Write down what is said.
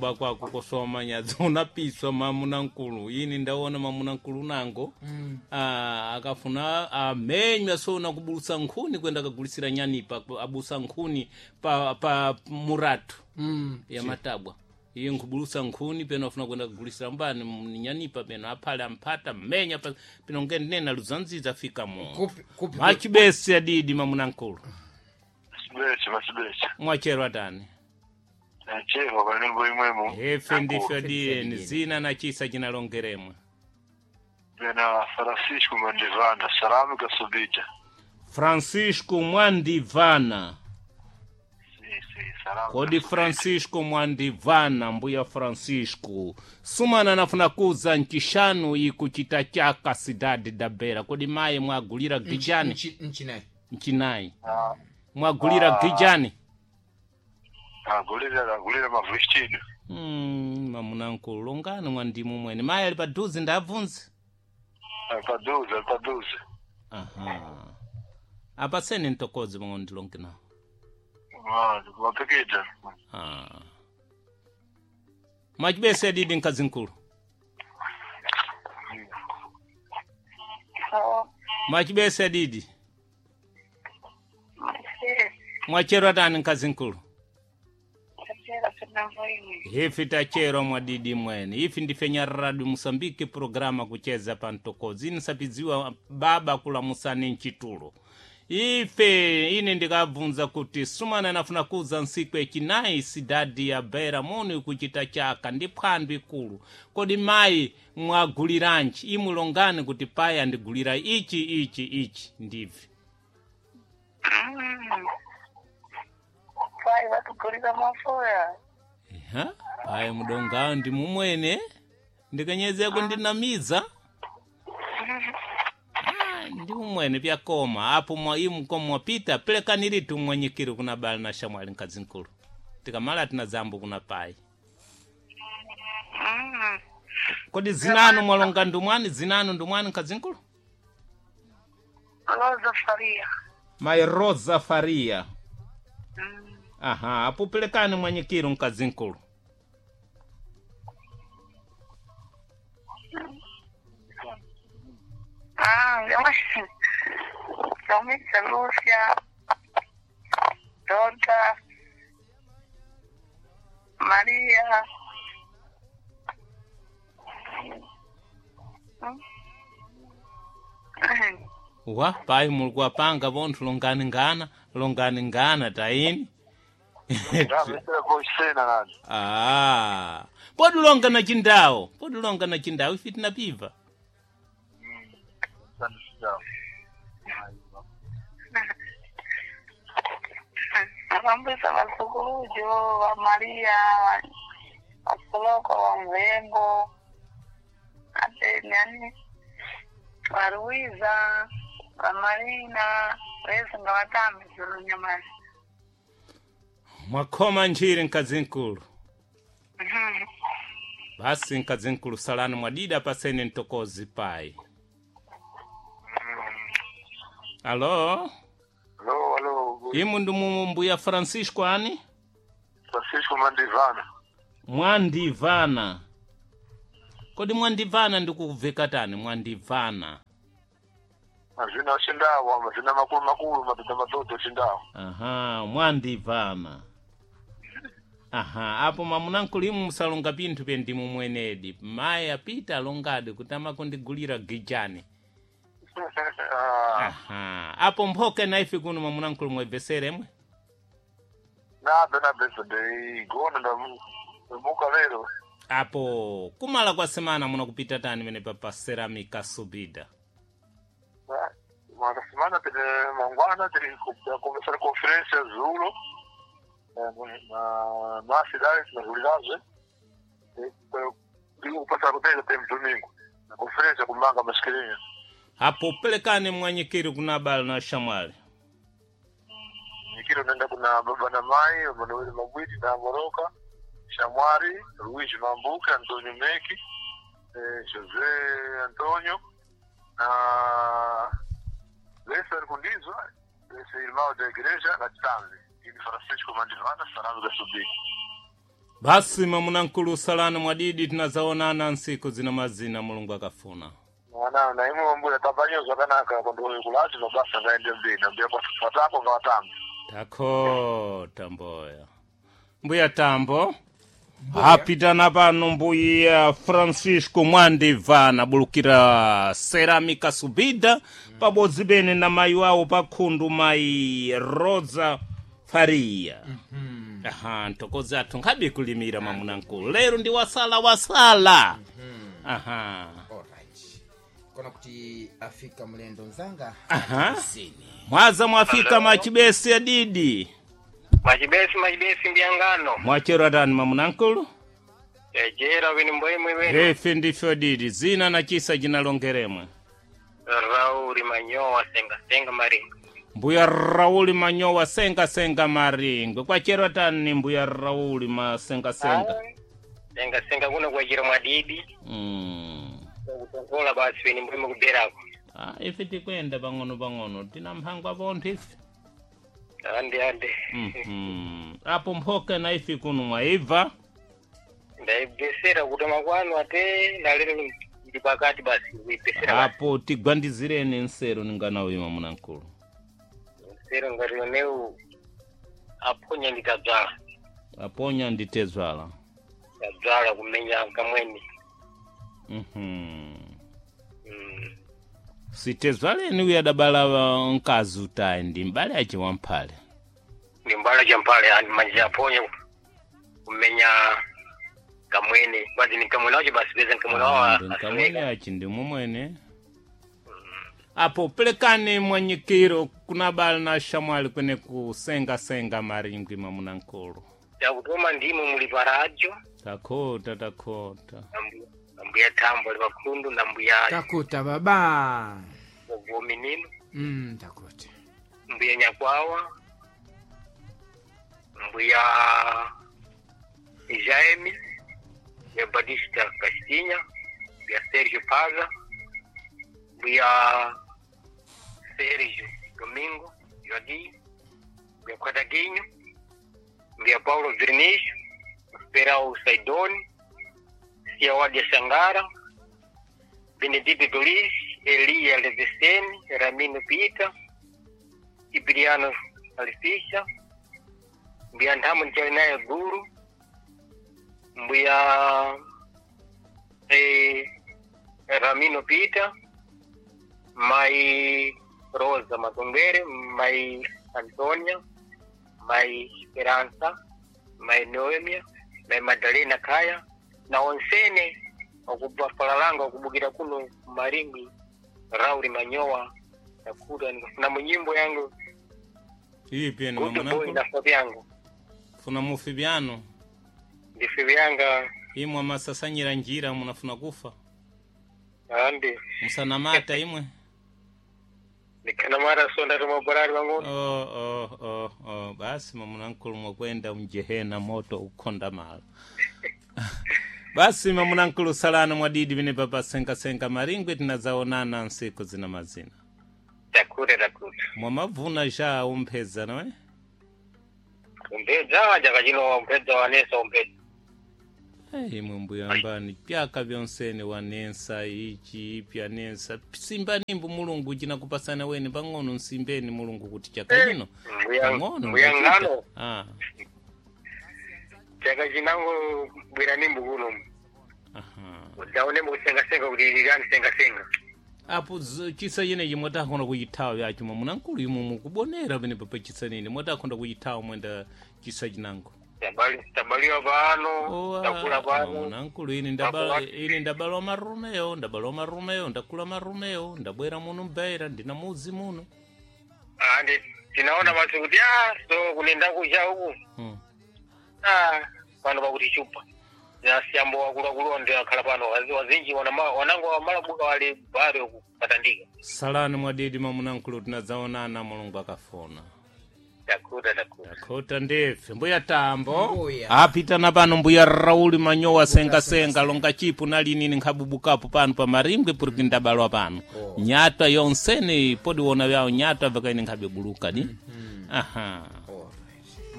Kuba kwako kosomanya unapiswa mamuna nkulu ini ndaona mamuna nkulu nango. Akafuna amenywa sona kubulusa nkhuni kwenda kagulisira nyanipa abusa nkhuni pa muratu ya matabwa iye nkubulusa nkhuni peno afuna kwenda kugulisira mbani nyanipa peno aphale amphata mmenya peno ngenena luzanziza afika mo. Kupi kupi? Machibesi adidi mamuna nkulu. Masibese, masibese. Mwachero atani? Nachero kanengo imwemo. Efe ndifyo Adiyeni. diyeni zina na chisa chinalongeremwe. Bena Francisco Mandivana, salamu kasubita. Francisco Mwandivana. Si, si, salamu. Kodi Francisco Mwandivana, mbuya Francisco sumana nafuna kuza nchishanu ikuchita chaka cidade da Beira. Kodi maye mwagulira gijani? Nchinayi. Nchinayi mwagulira gijani? Agulira, agulira mavestido. Mamunankulu longani mwandimu mwene maye ali paduze ndabvunze. Paduze, paduze. Aha, apaseni ntokoze pang'ono ndilonge nawo. Ah, wapikita. Ah. Mwachibese adidi mkazi nkulu. Mwachibese adidi. Mwachero atani mkazi nkulu? Ifi tachero mwadidi mwene ifi ndife nyararadu Musambiki programa kucheza pantokozi inisapidziwa baba kulamusani nchitulo ife ine ndikabvunza kuti sumana nafuna kuza nsiku echinayi sidadi ya Beira muni kuchita chaka ndi phwando ikulu. Kodi mayi mwaguliranji? Imulongani kuti payi andigulira ichi ichi ichi ndivi. Pai vatugulira mafoya. Ha? Payi mudongawo ndi mumwene ndikanyezeko ndinamiza. Ah, ndi umwene pyakoma apo mwa imu komo mwapita pelekaniritu mwanyikiri kuna bala na shamwali mkazi nkulu tikamala tina zambo kuna payi. Kodi zinanu mwalonga ndumwani zinanu ndumwani mkazi nkulu? Rosa Faria. Mai Rosa Faria. Aha, apo pelekani mwanyikiri mkazi nkulu. Ah, Lomisa Lúcia, Dota, Maria. Wa payi mulikuwapanga vonthu longani ngana longani ngana tayini. Ndamesera koisena nani. Ah, podilonga na chindawo podilonga na chindawo ife tinapiva. Vambwisa vasukulujo va Maria, vasoloko va Mvembo, ate nani va Luiza, va Marina, vese nga vatambi zulunyamasi. Mwakhoma nchiri mkazi nkulu. Basi mkazi nkulu salani mwadida pasene ntokozi payi. Alo. Alo, alo. Imu ndi mbuya Francisco ani? Francisco Mandivana. Mwandivana. Kodi mwandivana ndikuveka tani mwandivana? Mazina ochindawo, mazina makulu makulu, matoto matoto ochindawo. Aha, mwandivana. Aha, apo mamunankulu imu musalonga pinthu pe ndimu mwenedi mayi apita alongadi kuti amakundigulira gijani. Ah, Aha, apo mphoke na ife kuno mamunankulu mwebveseremwe. nabe nabe ndeigona ndamuka lero. Apo kumala kwa semana munakupita tani mene pa Ceramica Subida? Mara semana tene mangwana tiri começar a conferência Zulo na cidade na Zulidade. Digo passar o tempo tem domingo. Na conferência com manga mascarinha. Apo pelekani mwanyikiri kuna bala na shamwali. Nikiro nenda kuna baba na mai, Manuel Mabwiti na Moroka, Shamwari, Luiz Mambuca, Antonio Meki, José Antonio, na Lessa Kundizwa, esse irmão da igreja na Tsanzi, e Francisco Mandivana, Sarado da Subi. Basi mamunankulu salani mwadidi tinazaonana nsiku zina mazina mulungu akafuna. Mwana na imwe mbuya tabanyo zvakanaka kondoyo kulati mabasa ngaende mberi mbuya kwatako ngawatambe. Takhota mboya. Mbuya Tambo. Apitana pano mbuya Francisco Mwandivana bulukira Ceramica Subida pabodzi bene na mayi wawo pakhundu mayi Rosa Faria. Aha, ntokozi athu nkhabe kulimira mamunankulu. Lero ndi wasala wasala. Aha. Alright. Kona kuti afika mlendo mzanga Aha. zini. Mwaza mwafika machibesi adidi. Machibesi machibesi mbyangano Mwachero atani mamunankulu? ejera wini mbwemwe wene Ife ndife adidi zina na chisa chinalongeremwe. Rauli Manyowa senga senga maringo Mbuya Rauli Manyowa senga senga maringwe kwachero tani mbuya Rauli masenga senga. Senga senga kuno kwachira mwadidi kutongola basi wini mbwemwe kuberako Ah, ife tikwenda pang'ono pang'ono tina mphangwa pontho ife. ande ande Apo mphoka na ife kuno mwaibva. Ndaibesera kutoma kwanu ate nalero ndi pakati basi kuibesera basi Apo tigwandizireni nsero ninganawima munankulu. nsero ngati yoneu aponya ndikadzala Aponya nditezwala. Tadzala kumenya kamweni. Sitezwaleni uya adabala mkazi utayi ndi mbale ace wamphale. Ndi mbala cha mphale andi manja aponya kumenya kamwene basi ni kamwene wacho basi peza kamwene wawo Ndi nkamwene achi ndi mumwene. Apo pelekani mwanyikiro kuna bala na shamwali kwene kusengasenga maringwi mamunankulu. Yakutoma ndimo muli paradio. Takhota takhota. Nambuya Tambo ali pakhundu nambuya Takuta baba. Gominino Takuta. mbuya Nyakwawa mbuya Jaime mbuya Batista Castinha mbuya Sergio Paza mbuya Sergio Domingo Joaquim mbuya Quadaguinho mbuya Paulo Vernicio Perau Saidoni Siawadi Sangara Benedito Dolis Elia Leveseni Ramino Pita Cipriano Alifisha mbuya Nthamu Nchalinayo Guru mbuya Ramino Pita mai Rosa Matongere mai Antonia mai Esperanza mai Noemia mai Madalena Kaya na onsene okubafalalanga okubukira kuno Maringwi Rauli Manyowa nakuta na munyimbo yangu Ipi ene Good Boy mamunankulu? na foto yangu Funa mufi byano. ndife vyanga Imwe amasasanyira njira munafuna kufa. andi Musanamata imwe. nikanamara sonda tumaborari wangu Oh, oh, oh, oh. Basi mamunankulu mwakwenda mjehena moto ukhonda malo. Basi mamunankulu salano mwadidi vine papa senga senga maringwe tinazaonana nsiku zina mazina. takure takure Mwamavuna ja umpheza nawe? umpedza chaka chino umpedza wanesa umpedza. Ei, imwe mbuya mbani pyaka vyonsene wanensa ichi ipya nensa simbanimbu mulungu chinakupasana weni pang'ono nsimbeni mulungu kuti chaka chino pang'ono Mbuya ndachita. ngano Ah, chaka chinango bwera nimbu kuno aha. ndaone mukusengasenga kuti lilani sengasenga. Apo chisa chinechi mwatakhonda kuchithawa vyacho mwamunankulu imwe mukubonera pene papa chisa nini mwatakhonda kuchithawa mwenda chisa chinango. Tabaliwa pano takula pano mwamunankulu ine ine ndabalwa marumeyo ndabalwa marumeyo ndakula marumeyo ndabwera muno mbeira ndina muzi muno. andi tinaona basi kuti ah so kunenda kucha uku ah pano pakuti chupa nasiyambo wakuluakulu ndi akhala pano wazinji wanango wamalabuka wali bari uku patandika. Salani mwadidi mamunankulu tinadzaonana mulungu akafuna. Takuta takuta Takhota ndife mbuya Tambo. Mbuya. Apitana pano mbuya Rauli Manyowa senga senga longa chipu nalinini nkhabubukapo pano pa Marimbwe puriki ndabalwa pano. Oh. Nyatwa yonsene podiwona vyawo nyatwa vakaine nkhabebuluka di. Aha.